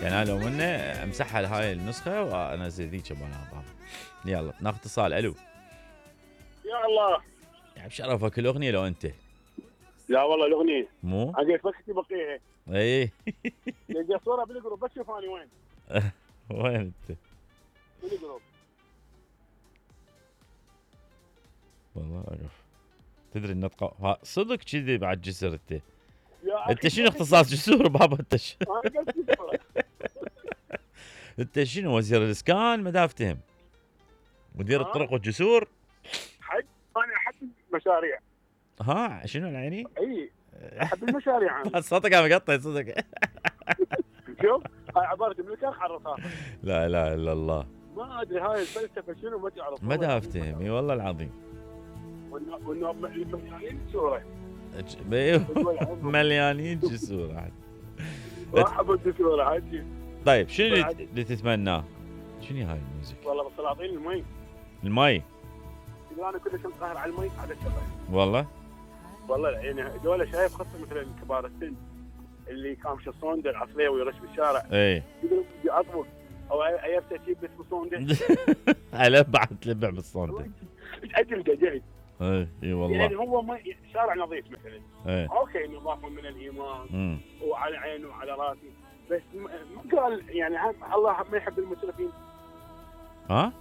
يعني انا لو منه امسحها لهاي النسخه وانزل ذيك مال. يلا ناخذ اتصال. الو. يا الله. يعني بشرفك الاغنيه لو انت. لا والله الاغنيه مو عجيت بس بقيها. اي لقيت صوره بالجروب بس شوف اني وين. وين انت؟ بالجروب. والله اعرف. تدري النطقه صدق كذي بعد جسر انت شنو اختصاص جسور بابا انت؟ انت شنو وزير الاسكان؟ ما افتهم. مدير الطرق والجسور؟ حق انا احب المشاريع. ها شنو العيني؟ اي احب المشاريع انا. صوتك عم يقطع صدق. شوف هاي عباره من الكرخ على الرصاصه. لا اله الا الله. ما ادري هاي الفلسفه شنو ما تعرف. ما افتهم. اي والله العظيم. وانه مليانين جسوره. مليانين جسور عاد. احب الجسوره عادي. طيب شنو اللي تتمناه؟ شنو هاي الموسيقى؟ والله بسلاطين المي. المي؟ انا كلش مقهر على المي على الشباب. والله يعني دول شايف خاصه مثلا كبار السن اللي كامش الصوندة العصريه ويرش بالشارع. اي يقولون بدي اطبخ او ايبسه تجيب بس بصوندة. على بعد تلبع بالصوندة. اجل دجاج. اي والله. يعني هو ما شارع نظيف مثلا. ايه. اوكي نظافه من الايمان وعلى عيني وعلى راسي بس ما قال يعني الله ما يحب المسرفين. ها؟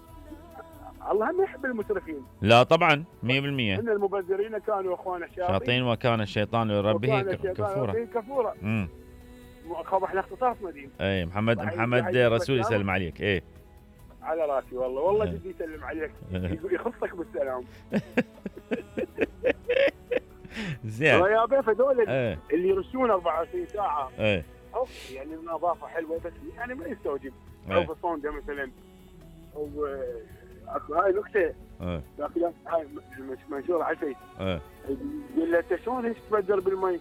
الله ما يحب المسرفين. لا طبعا 100%. ان المبذرين كانوا اخوان الشياطين وكان الشيطان لربه كفورا. احنا اختصاصنا دين. اي محمد رسول يسلم عليك. اي على راسي والله جدي يسلم عليك. يخصك بالسلام. زين يا بيه هذول اللي يرشون 24 ساعه. يعني النظافه حلوه بس يعني ما يستوجب. او في الصوندة مثلا هاي نكته. لكن هاي منشوره على الفيس. يقول له انت شلون هيك تبدر بالمي؟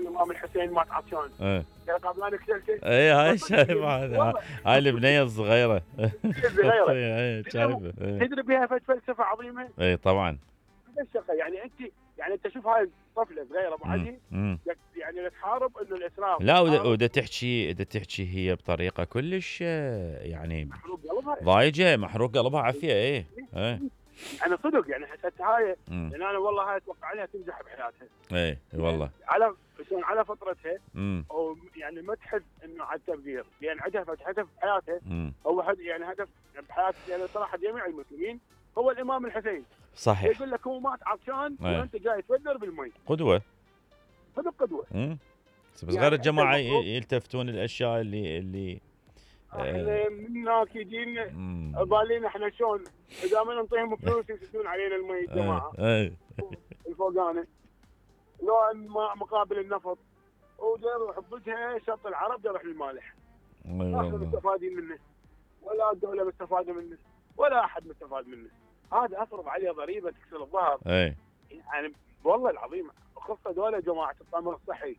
الامام الحسين مات عطشان. قال قبل انا كسلت. اي هاي شايف هذا. هاي البنيه الصغيره. شايفه. تدري بها فلسفه عظيمه. اي طبعا. يعني انت شوف هاي الطفله صغيره ابو علي يعني تحارب انه الاسراف. لا ودا تحكي هي بطريقه كلش يعني محروق قلبها. ضايجه محروق قلبها عافيه. اي انا صدق يعني حسيت هاي لان انا والله هاي اتوقع عليها تنجح بحياتها. اي والله على فترتها او يعني ما تحس انه على التبذير لان عندها هدف بحياتها. هو يعني هدف بحياتها يعني صراحه جميع المسلمين هو الامام الحسين. صحيح. يقول لك هو مات عطشان وانت جاي تبذر بالمي. قدوه. صدق قدوه. بس غير الجماعه يلتفتون الاشياء اللي احنا من هناك يجينا بالينا احنا شلون اذا ما نعطيهم فلوس يسدون علينا المي الجماعه. الفوقانه لو مقابل النفط ودير حبتها شط العرب يروح للمالح. ما احنا مستفادين منه ولا الدوله مستفاده منه ولا احد مستفاد منه. هذا افرض عليه ضريبه تكسر الظهر. يعني والله العظيم خصه دوله جماعه التامر الصحي.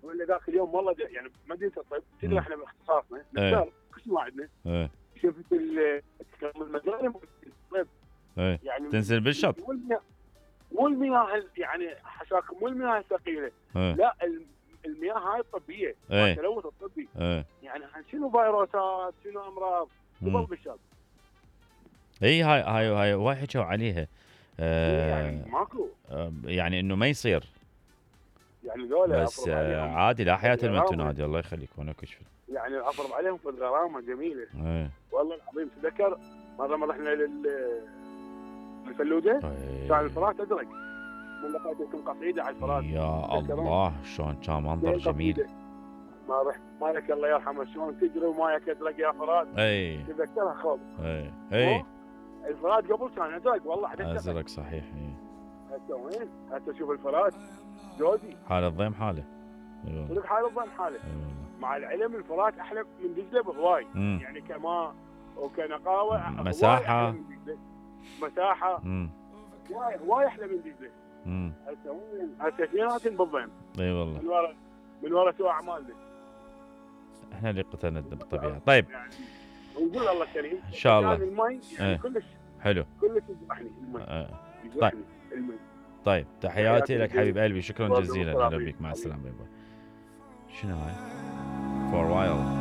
ولا ذاك اليوم والله يعني مدينه الطب تدري احنا باختصاصنا نختار كل ما عندنا. شفت المجاري الطب يعني تنزل بالشط والمياه يعني حشاكم والمياه الثقيله. لا المياه هاي الطبيه التلوث الطبي. يعني شنو فيروسات شنو امراض تضل بالشط. اي هاي واحد حكوا عليها. يعني ماكو يعني انه ما يصير يعني ذولا بس عادي لا حياة لمن تنادي. الله يخليك وانا كشف يعني افرض عليهم في الغرامه جميله. والله العظيم تذكر مره رحنا للفلوجه كان الفرات ازرق من لقيتكم قصيده على الفرات. يا الله شلون كان منظر جميل. ما رحت مالك الله يرحمه شلون تجري ومايك ازرق يا فرات. تذكرها خوف. الفرات قبل كان ازرق والله ازرق صحيح. هسه وين؟ هسه شوف الفرات جودي حال الضيم حاله. صدق حال الضيم حاله. مع العلم الفرات احلى من دجله بهواي. يعني كماء وكنقاوه مساحه هواي احلى من دجله. هسه وين؟ هسه اثنيناتهم بالضيم. اي والله من ورا سوى اعمالنا. احنا اللي قتلنا بالطبيعه. طيب يعني ونقول الله كريم ان شاء الله. المي يعني كلش حلو كلش يذبحني المي. طيب المي. طيب تحياتي لك حبيب قلبي. شكرا جزيلا. اهلا بك. مع السلامه. شنو هاي؟ For a while.